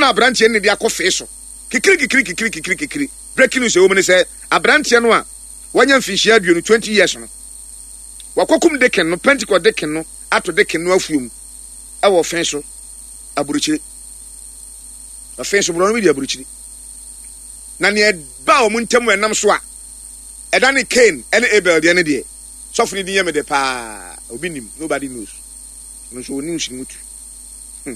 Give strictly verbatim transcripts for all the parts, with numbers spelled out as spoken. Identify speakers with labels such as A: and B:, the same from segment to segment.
A: Ɛna aberanteɛ no ne de akɔ fee so. Kikiri kikiri kikiri kikiri kikiri. Breaking news ɛwɔ mu ne sɛ aberanteɛ no a wanya mfinhyia aduonu, twenty years no, wakɔkum deacon no, Pentecost deacon no, ato deacon no afuom ɛwɔ fɛn so aburukyiri. Ɔfɛn so borɔ no bi di aburukyiri. Na nea ɛba wɔn ntam ɛnam so a ɛda ne Cain ɛne Abel deɛ ne deɛ, sɔfo ne din yɛ me de paa, obi nim, nobody knows. Ɔno nso wɔ news no mu tu. Hmm.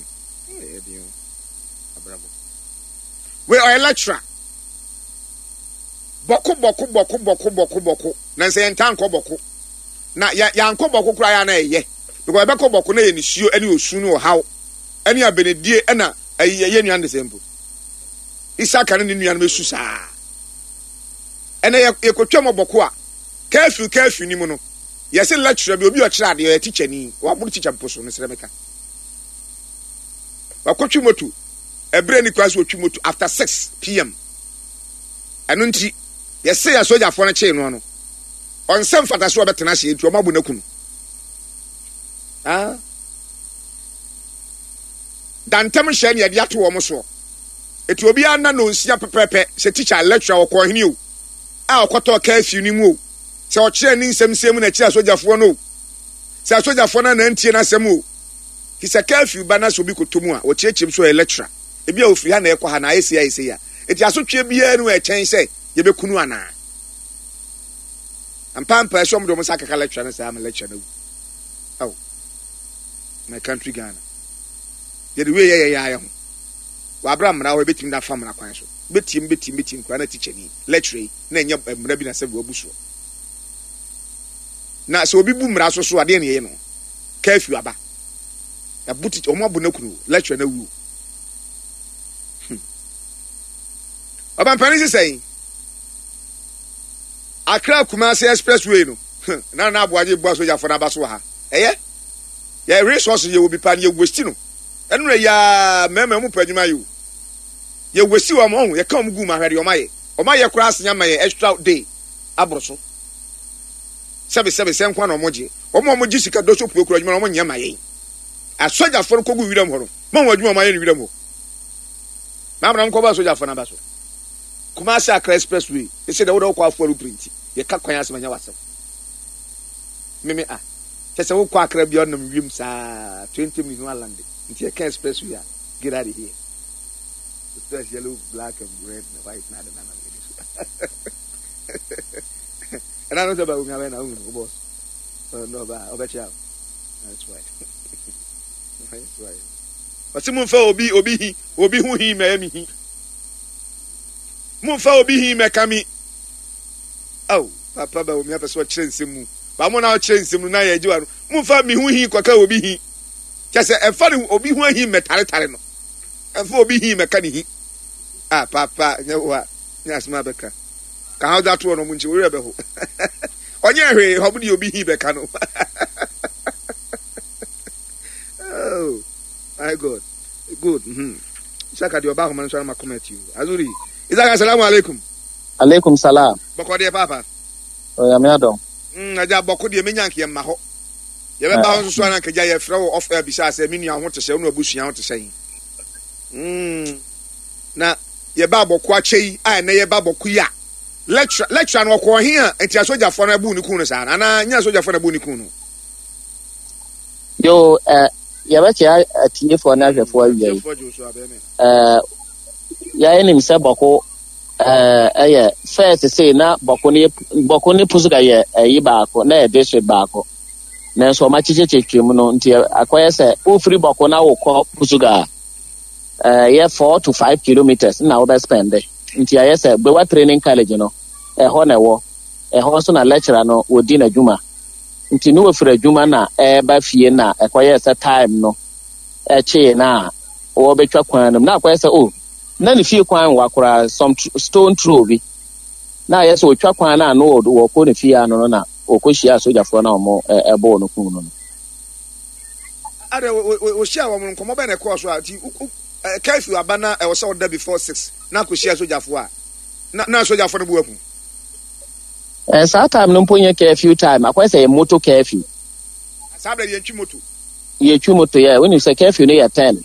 A: Ɛyɛ den o. Abrabɔ. Wei ɔyɛ lecturer. Bawku, Bawku, Bawku, Bawku, Bawku, Bawku. Na nsɛ yɛn ta nkɔ Bawku. Na yɛ yɛankɔ Bawku koraa yɛ ana ɛyɛ. Because yɛbɛkɔ Bawku na yɛ nisuo ɛne osu ne ɔhaw ɛne abenedie ɛna ɛyɛ yɛ nua no de sɛ mpo. Isaka ne ne nua no bɛsu saa. Ɛnɛ yɛ yɛkɔtwa mu Bawku a, curfew curfew ni mu no, yɛsɛ lecturer bi, obi a ɔkyerɛ adeɛ, ɔyɛ teacher ni, waboro teacher mpo so, mesrɛ meka. Wakɔtwi moto ɛberɛ ni kwan so wɔtwi moto after six p m. Ɛno nti yɛsɛ yɛ sogyafoɔ no kyee no no ɔnsɛ mfata so ɔbɛtena ase, nti ɔmo abo no aku no. Ah, dantam hyɛ ne yɛde ato wɔn soɔ, eti obiara nna nonsia pɛpɛɛpɛ sɛ teacher, lecturer, ɔkɔ ɔhene o, a ɔkɔtɔ curfew ni mu o, sɛ ɔkyerɛ ne nsɛm nsɛm mu na ɛkyerɛ asogyafoɔ no o, sɛ asogyafoɔ no anantie n'asɛm o, ti sɛ curfew ba na sɛ obi kɔtɔ mu a, wɔkyerɛkyerɛ mu so ɔyɛ lecturer, ebi a ofiri ha na ɛkɔ ha na ayɛ sei, ayɛ sei a, eti asotwe biara no ɛkyɛn sɛ yɛbɛkunu anaa mpampa ɛsɛ ɔmo de ɔmo nsa akeka lecturer no saa ama lecturer no awu. Aw, my country Ghana, yɛde wei yɛ yɛ yɛ ho wabra mmara hɔ, ebɛtumi na afa mmara kwan so, bɛtiem bɛtiem bɛtiem koraa na teacher ni, lecturer yi na ɛnyɛ mmara bi na sɛ wabu soɔ, na sɛ obi bu mmara so so adeɛ na yɛyɛ no curfew aba, ɛbu teacher, ɔmo abo n'akunu, lecturer na wu. hmm. Ɔbampanin sisan Accra Kumasi Expressway no na na aboagye bu asogyafoɔ n'aba so wɔ ha. Ɛyɛ yɛ resource, yɛ wɔ bi pa no, yɛ waste no. Ɛno na yɛ mmarima mu pɛ adwuma yɛ o, yɛ waste wɔn ɔho, yɛka wɔn gu mu ahwɛ deɛ wɔn ayɛ, wɔn ayɛ koraa asenya ma yɛ extra day aboro so. Sɛbi sɛbi sɛ nkwa na wɔn gye wɔn a wɔn gye sika dɔso pue kura adwuma na wɔn nyɛ ma yɛn. Asogyafoɔ no kɔgu wiram hɔ no, mo wɔn adwuma wɔn ayɛ no wiram hɔ maa mo na nkɔbɔ asogyafoɔ n'aba so. Kumasi Accra Expressway ɛsɛ dɛ wode wokɔ afoɔ no printi yɛka kwan asɛm anya wasɛm meme a kyɛ sɛ wokɔ Accra bia ɔnam wiem saa twenty minutes no alande, nti yɛka expressway a, get out of here. Express yellow, black and red and white na ade na na mede so ɛna no sɛ ba omi abɛn na wohu no boss no ɔba ɔbɛkyɛ. That's why, that's why ɔsi mu nfa obi obi hi obi ho hi mɛyɛ mi hi, momfa obi hi mɛka mi. Aw, papa ba omi apɛ sɛ ɔkyerɛ nsɛm mu ba mo na ɔkyerɛ nsɛm mu na yɛ agye wa no, momfa mi ho hi kɔka obi hi, kyɛ sɛ ɛmfa ne obi ho ahi mɛtaretare no, ɛmfa obi hi mɛka ne hi a papa nyɛ wo a nyɛ asɛm a bɛka ka ha ɔdze ato hɔ no, ɔmo nkyi wɔwerɛ bɛho, ɔnyɛ hwee, ɔmo de obi hi bɛka no. Oh my God, good. mm-hmm. Isaka deɛ ɔba ahoma no so anama comment yi azuri. Isaka, assalamu alaikum.
B: Alaikum salam.
A: Bɔkɔ deɛ, papa?
B: Onyame adɔm.
A: mm, agya bɔkɔ deɛ, menya nka yɛmma hɔ, yɛbɛba hɔ nso so ana nkagya yɛfrɛ wɔ off air bisa sɛ me nua ho te sɛ wo ne abusua ho te sɛn. mm. Na yɛba Bawku akyɛ yi a, ɛnɛ yɛba Bawku yi a, lecturer lecturer no ɔkɔ ɔhe a nti asogyafoɔ no abu ne kun no saa no anaa nyɛ asogyafoɔ no abu ne kun no?
B: Yo, eh, yɛbɛkyɛ atiefoɔ ne ahwɛfoɔ awia yi.
A: Atiefoɔ gye wo so abɛɛ me.
B: Eh, yɛnim sɛ Bawku eh, ɛyɛ first sei na Bawku ne Bawku ne Pusuga yɛ ɛyi baako na yɛ district baako, nanso ɔma kyekyɛkyɛ mu no nti akɔyɛ sɛ wofiri Bawku na wokɔ Pusuga a, ɛyɛ four to five kilometers na wobɛ spend, nti ayɛ sɛ Gbewa Training College no ɛhɔ na ɛwɔ, ɛhɔ nso na lecturer no wɔdi n'adwuma, nti ne wɔfiri adwuma na ɛreba fie na ɛkɔyɛ sɛ time no ɛkyee na a wɔbɛtwa kwan no mu na akɔyɛ sɛ oh, na ne fie kwan wa koraa, some stone throw bi na ayɛ sɛ otwa kwan no a no wɔkɔ ne fie ano no na wɔkɔhyia asogyafoɔ na wɔn ɛbɔɔ no kum no no
A: Ade wɔhyia wɔn, nkɔmmɔ bɛn na ɛkɔɔ so a nti curfew aba na ɛwɔ sɛ ɔda before six na akɔhyia sogyafoɔ a na na sogyafoɔ no bu aku?
B: Ɛɛ, saa time no mpo nyɛ curfew time, akɔyɛ sɛ yɛ motor curfew.
A: Saa bɛrɛ yɛntwi moto.
B: Yɛtwi moto yɛ, wonim sɛ curfew no yɛ ten.